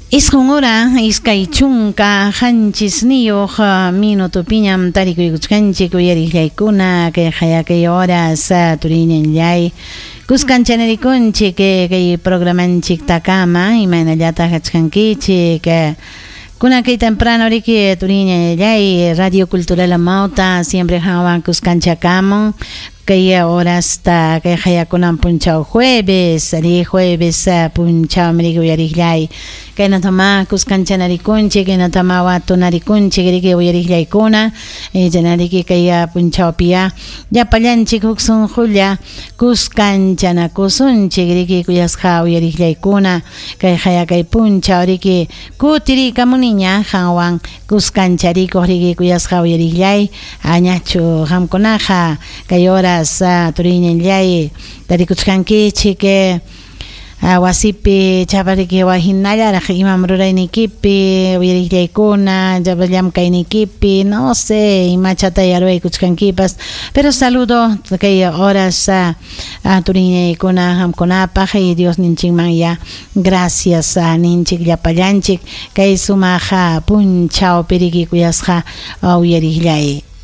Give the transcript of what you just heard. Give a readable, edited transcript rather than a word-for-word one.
Isqun hora 27 minutopiñam tarikuykuchkanchik uyariqllaykuna kay qayakay horas turiñanllay kuskanchanericunchik kay programanchiktakama imaynallataq kachkankichik kunan kay temprano riki turiñanllay Radio Cultural Amauta siempre hawan kuskanchakamun kay horasta kay qayakunan punchaw jueves ari jueves punchawmi riki uyariqllay kaynatama kuskanchanarikunchik kaynatama watunarikunchik riki uyariqllaykuna chanariki kay punchawpiya llapallanchik huk sunqulla kuskanchanakusunchik riki kuyasqa uyariqllaykuna kay qayakay punchaw riki kutirikamuniña qanwan kuskancharikuq riki kuyasqa uyariqllay añachu qamkunaqa kay horas turiñanllay tarikuchkankichik wasipi chapariki hinallaraq imam ruraynikipi uyariqllaykuna llamkaynikipi no sé imachataya ruwaykuchkankipas pero saludo kay horas turiñaykuna qamkunapaq y Dios ninchikman ya gracias ninchik llapallanchik kay sumaq punchawpi riki kuyasqa uyariqllay.